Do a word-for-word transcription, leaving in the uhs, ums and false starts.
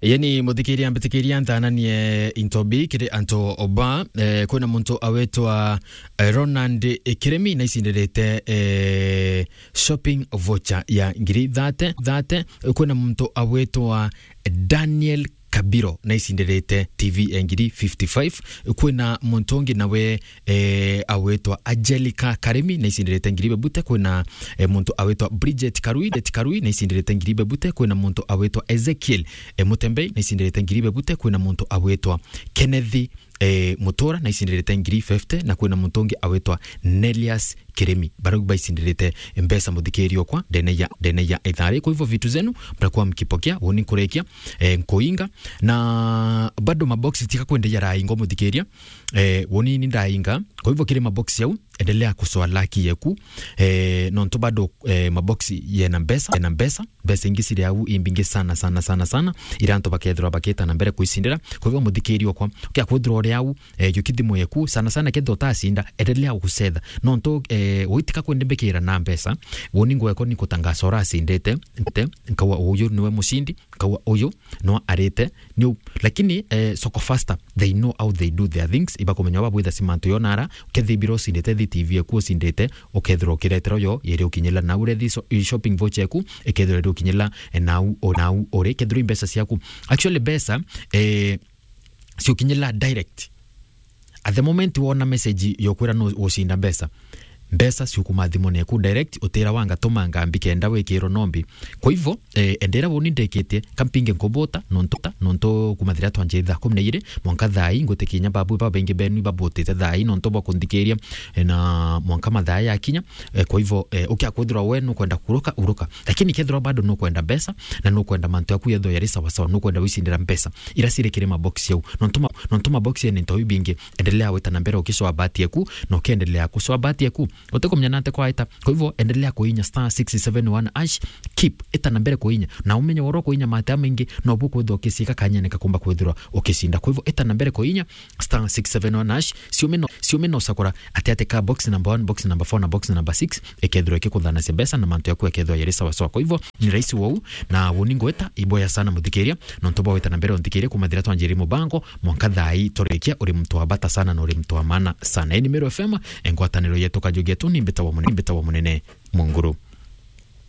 Yani, muthikiria, mbitikiria nthananie into bi kiri antu oba, eh, kwina muntu awitwa, eh, Ronald Kirimi, na icindirite, eh, shopping voucher ya ngiri thate, thate. Kwina muntu awitwa Daniel Kabiro, na icindirite T V ya ngiri fifty-five. Kwina muntu ungi nawe, eh, awitwa Angelica Karimi, na icindirite ngiri bebute. Kwina, eh, muntu awitwa Bridget Karui, Bridget Karui, na icindirite ngiri bebute. Kwina muntu awitwa Ezekiel, eh, Mutembei, na icindirite ngiri bebute. Kwina muntu awitwa Kenneth, eh, Mutura, na icindirite ngiri fifty, na kwina muntu ungi awitwa Nelias Kirimi. Barau baicindirite mbeca, muthikiria okwa, ndene ya, ndene ya ithari. Kwa hivyo, vitu zenu mtakuwa mkipokea, woni nkurekia, eh, nkuinga. Na bado maboxi tika kwende yaraingwa, muthikiria. Eh, woni ni ndainga. Kwa hivyo, kiri maboxi yau, endelea kusoa laki yeku. Eh, nontu bado, eh, maboxi yena mbeca, yena mbeca. Mbeca ingi ciri au imbingi sana, sana, sana, sana. Ira antu bakethirwa bakita na mbere kuicindira. Kwa hivyo, muthikiria okwa, ukia kwithirwa uri au, eh, juki thimu yeku, sana sana kethirwa utacinda, endelea gucetha. Nontu, eh, witika kwende mbikira na mbeca, woni ngweko ni kutangaca uracindite, nte, nkawa uyu niwe mucindi, nkawa uyu no arite, ni u-, lakini, eh, Soko Faster, they know how they do their things, ibakumenya baba bwitha cimantu yonara, ukethibira ucindite thi T V eku ucindite, ukethirwa ukiretera uyo, yeri ukinyila nau rethi so-, i shopping voucher eku, ikethirwa iri ukinyila, eh, nau, o, nau uri, kethirwa i mbeca ciaku. Actually, mbeca, eh, ciukinyila direct. At the moment wona message yokwira no ucinda mbeca, mbeca ciukuma thimone eku direct, utira wanga tuma ngambi kenda wikirwo nombi. Kwa hivyo, eh, endera woni ndekitie, kampinge nkubota, nontu, nontu kuma thiria twanjiri thaa kumi na ijiri, mwanka thaa ii, ngwitikinya babu babaingi benu ibabutite thaa ii, nontu bwa kunthikiria, eh, na mwanka mathaa yakinya, eh, kwa hivyo, eh, ukia kwithirwa we nukwenda kuruka, uruka. Lakini kethirwa bado nukwenda mbeca, na nukwenda mantu yaku yethirwa yari sawa sawa, nukwenda wicindira mbeca, ira ciri kiri mabox yau. Nontu ma-, nontu mabox ni ntobi bingi, endelea gwita na mbere ukicoa bahati yaku, na ukiendelea kucoa bahati yaku. Utikumenya nate kwaita. Kwa hivyo, endelea kuinya star six seven one hash, keep, ita na mbere kuinya. Na umenye woro kuinya mate maingi, no bu kwithirwa ukiciika kanyene kakumba kwithirwa ukicinda. Kwa hivyo, ita na mbere kuinya star six seven one hash, ciume no, ciume no ucakura ati ati ka box number one, box number four na box number six, ikethirwa ikikuthanacia mbeca na mantu yaku yakethirwa yari sawa sawa. Kwa hivyo, ni rahisi wou, na woni ngweta, iboya sana muthikiria, nontu bwa gwita na mbere unthikiria kuma thiria twanjiri mubango, mwanka thaa ii turikia, uri muntu wa bata sana na uri muntu wa maana sana. Ii ni Meru F M, engwataniro yetu kajugi yetu, ni mbita wa munene, mbita wa munene Munguru.